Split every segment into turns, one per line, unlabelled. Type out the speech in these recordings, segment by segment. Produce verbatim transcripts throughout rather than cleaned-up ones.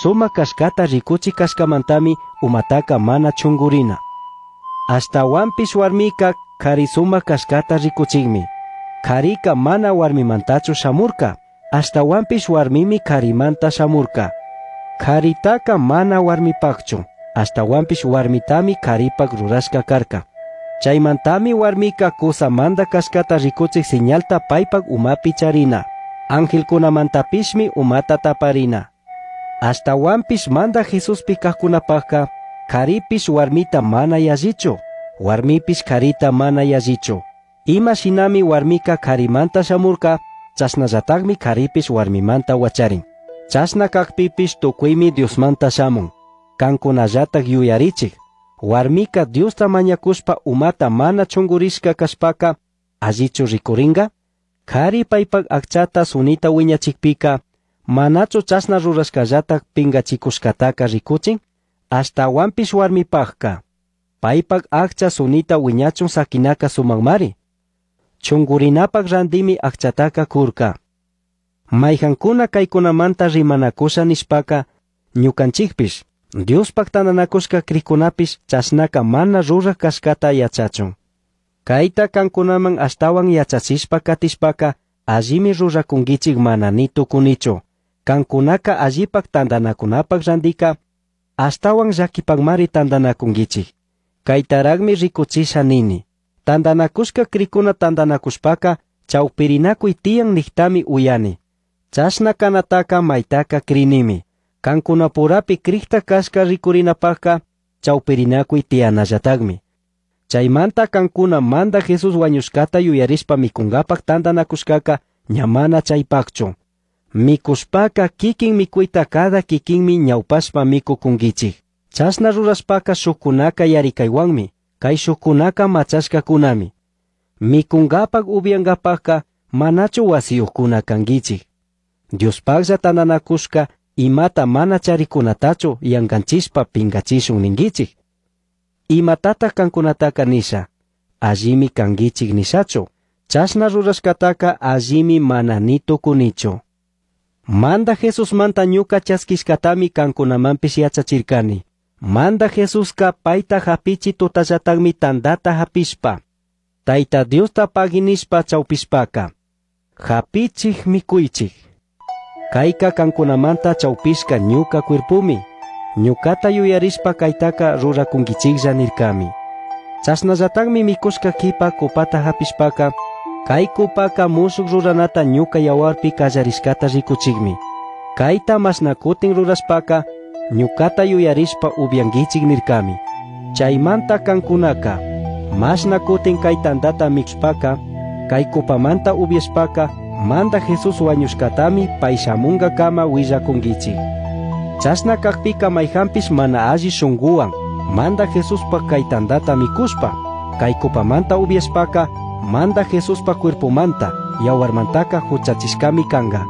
Sumac cashcata ricuchic cashcamantami umataka mana chungurina. Ashtahuanpish huarmica cari sumac cashcata ricuchicmi. Carica mana huarmimantachu shamurca, ashtahuanpish huarmimi carimanta shamurca. Caritaca mana huarmipacchu, ashtahuanpish huarmitami caripac rurashca carca. Chaimantami huarmica cusamanta cashcata ricuchic señalta paipac umapi charina. Angelcunamantapishmi umata taparina. Ashtahuanpish Mandaj Jesuspi cajcunapajca, caripish huarmita mana yallichu, huarmipish carita mana yallichu. Ima shinami huarmica carimanta shamurca, chashnallatajmi caripish huarmimanta huacharin. Chashna cajpipish tucuimi Diosmanta shamun. Cancunallataj yuyarichij. Huarmica Diosta mañacushpa umata mana chungurishca cashpaca, allichu ricuringa? Cari paipac acchata sunita huiñachicpica, manachu chashna rurashcallataj pingachicushcataca ricuchin? Ashtahuanpish huarmipajca, paipac accha sunita huiñachun saquinaca sumacmari. Chungurinapac randimi acchataca curca. Maijancuna caicunamanta rimanacusha nishpaca, ñucanchicpish, Diospac tandanacushca cricunapish chashnaca mana ruraj cashcata yachachun. Caita cancunaman ashtahuan yachachishpa catishpaca, allimi ruracunguichik mana ni tucunichu. Cancunaca allipac tandanacunapac randica, ashtahuan llaquipacmari tandanacunguichik. Caitaracmi ricuchisha nini. Tandanacushca cricuna tandanacushpaca, chaupirinacuy tiyan nijtami uyani. Chashna canataca maitaca crinimi. Cancunapurapi cricta cashca ricurinapajca, chaupirinacuy tiyanallatacmi. Chaimanta cancuna Mandaj Jesús huañushcata yuyarishpa micungapac tandanacushcaca ña mana chaipacchu. Micushpaca kikin micuita cada kikinmi ñaupashpa micucunguichik. Chashna rurashpaca shukcunaca yaricaihuanmi, cai shukcunaca machashcacunami. Micungapac upiangapacca manachu wasiyuccuna canguichik. Diospaclla tandanacushca imata mana charicunatachu yanganchishpa pingachishun ninguichik. Imatata cancunataca nisha, allimi canguichik nishachu. Chashna rurashcataca allimi mana ni tucunichu. Mandaj Jesusmanta ñuca chasquishcatami cancunamanpish yachachircani. Mandaj Jesusca paita japichi tutallatacmi tandata japishpa, Taita Diosta pagui nishpa chaupishpaca, japichij micuichij. Caica cancunamanta chaupishca ñuca cuerpumi. Ñucata yuyarishpa caitaca ruracunguichiklla nircami. Chashnallatacmi micushca quipa copata japishpaca, cai copaca mushuc ruranata ñuca yahuarpi callarishcata ricuchicmi. Caita mashna cutin rurashpaca, ñucata yuyarishpa upianguichik nircami. Chaimanta cancunaca, mashna cutin cai tandata micushpaca, cai copamanta upiashpaca, Mandaj Jesús huañushcatami pai shamungacama huillacunguichik. Chashna cajpica maijanpish mana alli shunguhuan, Mandaj Jesuspac cai tandata micushpa, cai copamanta upiashpaca, Mandaj Jesuspac cuerpomanta, yahuarmantaca juchachishcami canga.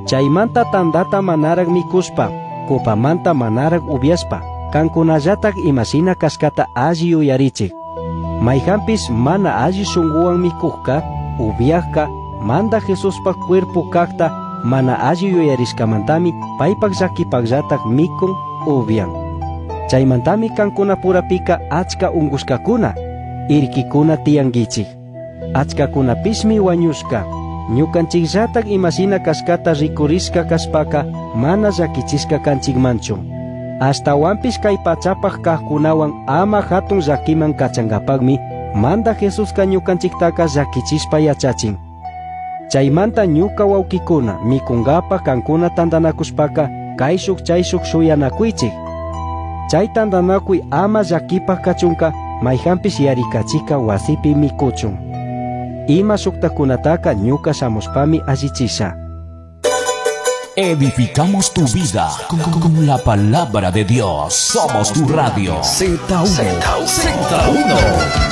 Chaimanta tandata manarac micushpa, copamanta manarac upiashpa, cancunallatac imashina cashcata alli yuyarichik. Maijanpish mana alli shunguhuan micujca, upiajca, Mandaj Jesuspac cuerpo cajta mana alli yuyarishcamantami paipac llaquipacllatac micun upian. Chaimantami cancunapurapica achca ungushcacuna, irquicuna tiyanguichik. Achcacunapishmi huañushca. Ñucanchikllatac imashina cashcata ricurishca cashpaca mana llaquichishca canchikmanchu. Ashtahuanpish cai pachapac cajcunahuan ama jatun llaquiman cachangapacmi Mandaj Jesusca ñucanchictaca llaquichishpa yachachin. Chaimanta ñuca huauquicuna micungapac cancuna tandanacushpaca caishuc chaishuc shuyanacuichik. Chai tandanacui ama llaquipac cachunca maijanpish yaricachica huasipi micuchun. Ima shuctacunataca ñuca shamushpami allichisha.
Edificamos tu vida con, con, con la palabra de Dios. Somos tu radio.
Z uno. Z uno.